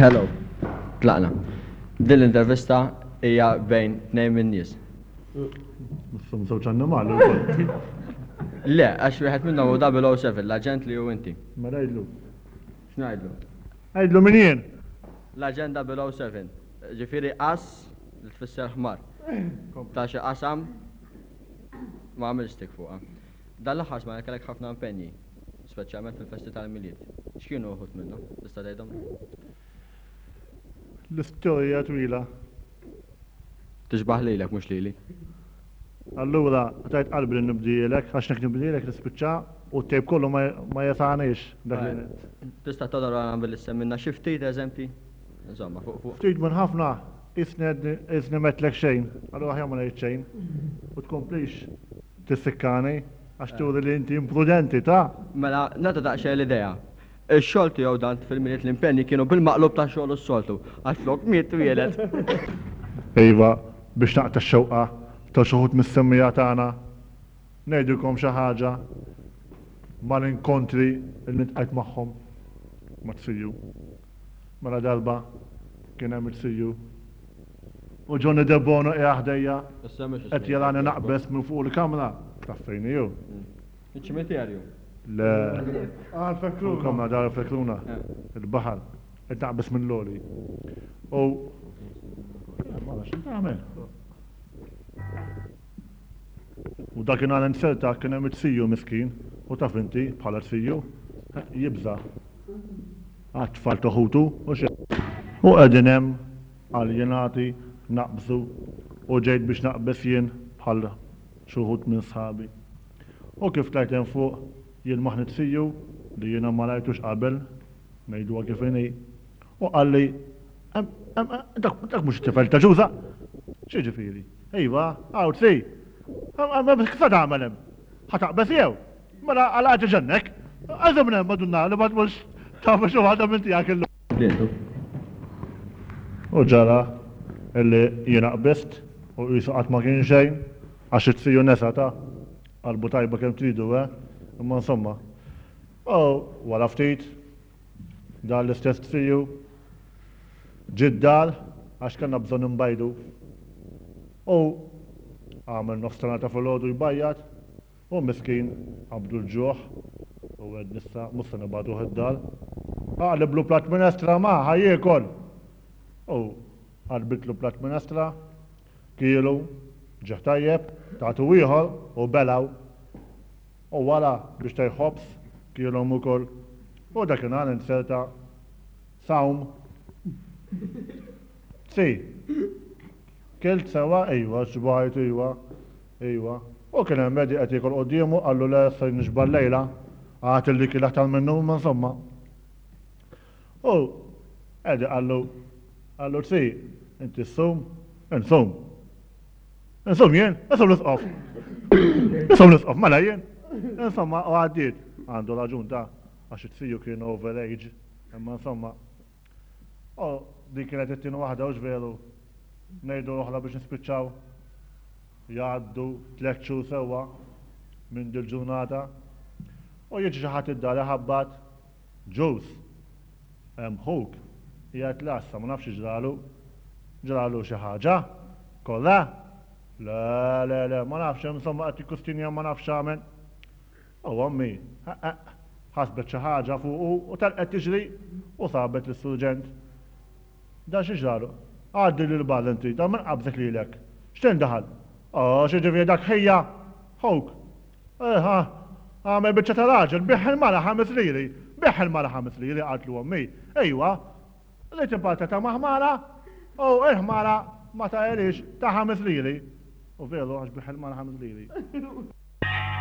Hello. Tlaqna. Din l-intervista hija bejn tnejn min-nies. Misshom żewġ annimali wkoll. Le, għax wieħed minnhom hu 007, l-aġent li hu inti. Mela għidlu. X'ngħidlu? Għidlu min jien. L-aġent 007. Ġifieri as li tfisser ħmar. Ta' xi qasam ma għamilx tik fuqha. Dan l-aħħar smajna kellek ħafna impenji. Speċjalment fil-festi tal-Milied. X'kienu uħud minnhom? Tista' tgħidhomli? L-istorja twila. Tixbah lilek mhux lili. Allura, tajt qalbi li nibdielek, għax nek nibdielek nispiċċa u t-tejp kollu ma jesagħniex dak li. Tista' todorana billi semmilna xi ftit eżempji? Insomma, fuq fuq. Ftit minn ħafna, qisni m'għedtlek xejn, allura aħjar ma ngħid xejn. U tkomplix tissikkani. Għax turi li inti imprudenti, ta! Mela, nagħtu daqsxejn l-idea. Ix-xogħol tiegħu dan fil-Milied l-impenji kienu bil-maqlub ta' xogħlu s-soltu, għax flok miet twieled. Iva, biex naqta' x-xewqa ta' xi wħud mis-semmiegħa tagħna, ngħidilkom xi ħaġa mal-inkontri li ltqajt magħhom mat-CU. Mela darba kien hemm il-CU u Johnny Debono qiegħed ħdejja qed jarani naqbeż minn fuq il-kamra. Taf fejn hi hu? Iċ-ċimiterju. Le. Għal Kamra dar Fekruna. Il-baħar. Qed naqbeż minn l-għoli. U ma nafx tagħmel. U dakinhar inzerta kien hemm it-tiju miskin, u taf inti, bħala tiju, jibża' għat-tfal ta' ħutu, hux hekk? U qegħdin hemm aljenati naqbżu u ġejt biex naqbeż jien bħal xi wħud minn sħabi. U kif tlajt hemm fuq, jien maħni t-tiju, li jiena ma rajtux qabel, ngħiduha kif inhi, u qalli, Hemm, hemm, dak, dak mhux it-tifel ta' Ġuża? X'jiġifieri? Iva, hawn tsi. Kif se tagħmel hemm? Ħa taqbeż jew? Mela għala qed iġennek? Għażel minn hemm Madonna li ma tmurx tagħmel xi waħda minn tiegħek illum. U ġara illi jiena qbiżt u qisu qatt ma kien xejn għax it-tiju nesa ta' qalbu tajba kemm tridu eh, imma insomma. U wara ftit dan l-istess tiju Ġie d-dar għax kellna bżonn inbajdu. U għamel nofs ta' nhar ta' filgħodu jbajjad u miskin qabdu l-ġuħ u għedna issa mhux se nibagħtuh id-dar. Aqliblu platt minestra ma, ħa jiekol! U qalbitlu platt minestra, kielu, ġieħ tajjeb, tatu ieħor u belgħu. U wara biex tgħid ħobż kielhom ukoll. U dakinhar inzerta Sawm. Si. Kilt sewwa? Ejwa, xbajt, ejwa. Ejwa. U kien hemm Eddie qed jiekol quddiemu, qallu le se nixba' llejla. Għad illi kiel aktar minnu, imma insomma. U Eddie qallu, qallu si, inti ssum? Insum. Insum jien? Insum l-isqof. Insum l-isqof, mela jien. Insomma, u għaddiet. Għandu raġun ta' għax it-tiju kien over age. Imma insomma, u din kienet it-tieni waħda hux veru? Ngħidu oħra biex nispiċċaw. Jgħaddu tlett xhur sewwa minn dil-ġurnata u jiġi xi ħadd id-dar iħabbat, Ġus, hemm ħuk qiegħed l-għassa ma nafx x'ġralu. Ġralu xi ħaġa? Kollha? Le, le, le, ma nafx, insomma qed jikkustinja ma nafx x'għamel. U ommi, ħeqq, ħasbet xi ħaġa fuqu u telqet tiġri u sabet lis-surġent. Dan xi ġralu? Għaddi lil barra inti, dan min qabżek lilek? X'tejn daħal? Oh, x'jiġifieri dak ħija? Ħuk. Eh, għamel biċċa ta' raġel, biegħ il-mara ħames liri. Biegħ il-mara ħames liri, qaltlu ommi. Ejwa, ried imparta ta' ma' ħmara u l-ħmara ma tahelix ta' ħames liri. U veru għax biegħ il-mara ħames liri.